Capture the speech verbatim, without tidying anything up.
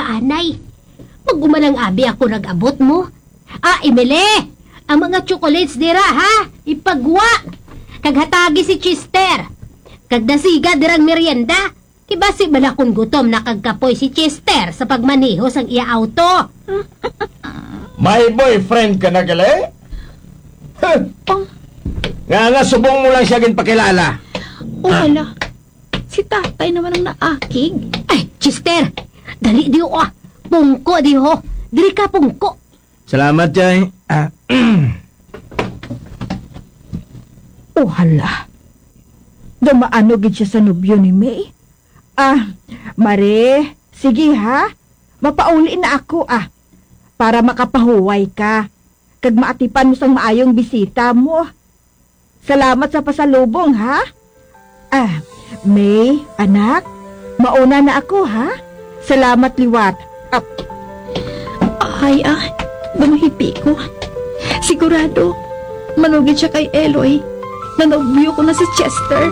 Anay, pag-umalang abi ako nag-abot mo. Ah, Emily, ang mga chocolates dira, ha? Ipagwa. Kag hatagi si Chester. Kag dasiga dirang merienda. Kay basi bala kon gutom na kag kapoy si Chester sa pagmaneho sang iya auto. My boyfriend ka na gali? Huh. Nga nga subong mo lang siya ginpakilala. Oh, hala. Si tatay naman ang naakig. Ay, Chester! Dali diho, ah! Pungko diho! Diri ka, pungko! Salamat, Jay. Ah, Oh, hala. Gamaano gid siya sa nobyo ni May? Ah, Mare, sige ha. Mapauli na ako, ah. Para makapahuway ka. Kag maatipan mo sang maayong bisita mo. Salamat sa pasalubong, ha? Ah, May, anak, mauna na ako, ha? Salamat liwat. Ah, Ay, ah, gamahipi ko. Sigurado, manugid siya kay Eloy. Nanobyo ko na si Chester.